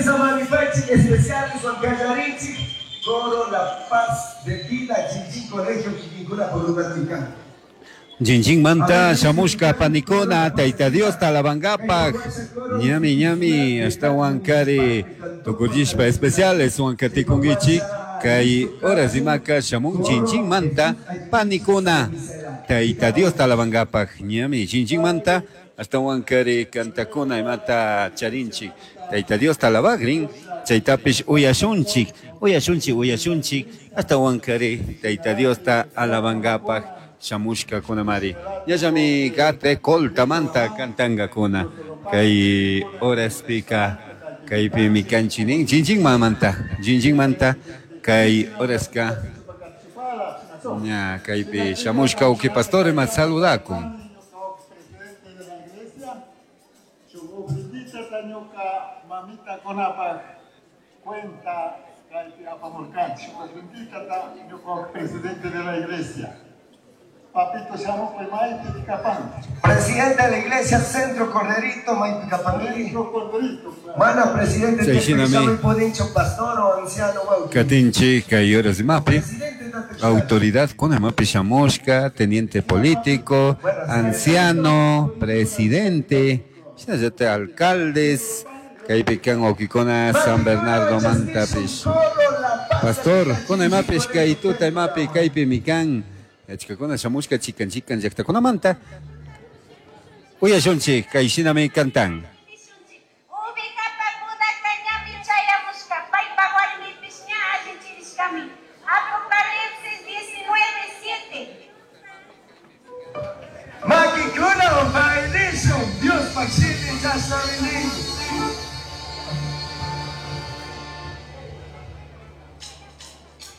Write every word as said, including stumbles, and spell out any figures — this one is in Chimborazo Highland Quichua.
Samanipaichik especiales Huancallarinchik, Coro La Paz de Vida, Chinchín Colegio, Quiquincuna, Porunatican. Chinchínmanta shamushka panikuna Tayta Diosta alabankapaj ñami ñami ashtawan kari tukullishpa especiales huankatikunkichik kay horas rimaka shamun Chinchínmanta panikuna Tayta Diosta alabankapaj ñami Chinchínmanta ashtawan kari kantakuna imata charinchik Tayta Diosta alabagrin chaytapish uyashunchik uyashunchik uyashunchik ashtawan kari Tayta Diosta alabankapaj shamushkakunamari ñallami gate coltamanta kantankakuna kay horaspika kaypimi kanchinin Chinchinmanta Chinchinmanta kay horaska ña kaypi shamushka uki pastor ima saludakun. Presidente de la iglesia, ofrendita ñuka mamita kunapaj cuenta kaypi apamurkanchik ofrendita ñuka presidente de la iglesia. Papito shamukuy maypi kapan. Presidente de la iglesia Centro Corderito, Maipicapangui. Centro Corderito. Mana presidente Chay shinami. Podincho, pastor o anciano wauki. Katinchik kay horas rimapi Presidente de autoridad kuna imapi shamushka teniente político anciano presidente shinallata alcaldes kaypi kan wawkikuna San Bernardo mantapish pastor kuna imapish kay tuta imapi kaypimi kan achkakuna shamushka chikan chikan llaktakunamanta uyashunchik kay shinami kantan. Ovejapakunaka ñami chayamushka, paypa warmipish ña allichirishkami. Apocalipsis diecinueve siete. Makikuna bailishun, Dios pachini chashnami nin.